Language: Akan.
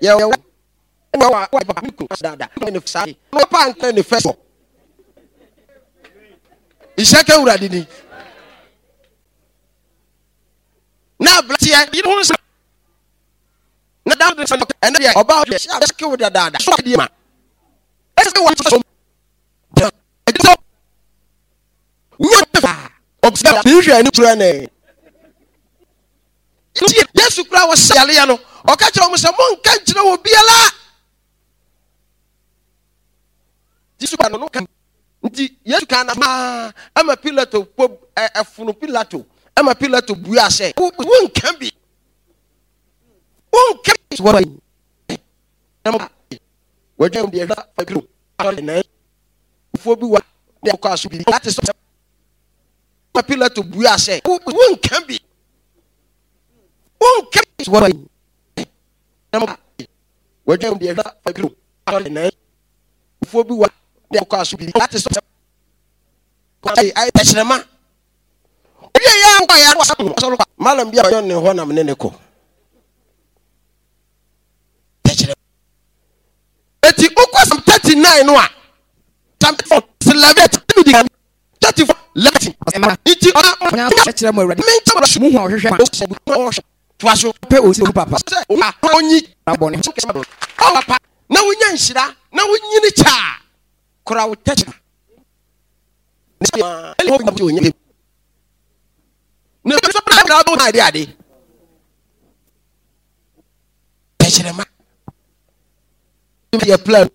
Yɛ wɔ ɛna wa wa papa mi kun dada ne saa na pa nka ne fɛ so. Nhyɛ ka wura didi. Na abranteɛ yere ho nsa na da de sɛ ɛnɛ deɛ ɔbaa deɛ hyɛ ahyɛ kew dadaada so adeɛ ma ɛsɛ wɔ so ɛdi sɛ nyɛ fa ɔbea ne hwɛ ani kura ne nti Yesu kura wɔ sɛ yareɛ no ɔka kyerɛ wɔn sɛ monka nkyerɛ wɔ biara. Yesu ka no no ka nti Yesu ka na maa ɛma Pilato po ɛfono Pilato ɛma Pilato bua sɛ wonka bi, wonka bi wɔ wɔdwa deɛ hwɛ faduro asɔre nan fuo bi wɔ deɛ kɔ aso bi ate sɛ ma Pilato bua sɛ wonka bi, wonka bi wɔ wɔdwa deɛ hwɛ faduro asɔre nan fuo bi wɔ deɛ kɔ aso bi ate sɛ ayɛ tɛkyerɛma obi a yɛ akɔ yɛ asɔre malam bi a ɔyɛ ne hɔ nam ne ne kɔ tɛkyerɛma. Eti wokɔ Psalm 39 no a, Psalm 34 11 David kan 34 11 nti ɔna kyerɛ mo Awurade menkyɛ mo mu hu a ɔhwehwɛ ɔhwɛ toa so pɛ osi owu papa sɛ onyi bɔne papa na wonya nhyira na wonyini kyɛ a kora wo tɛkyerɛma na ade ade tɛkyerɛma yɛ plan.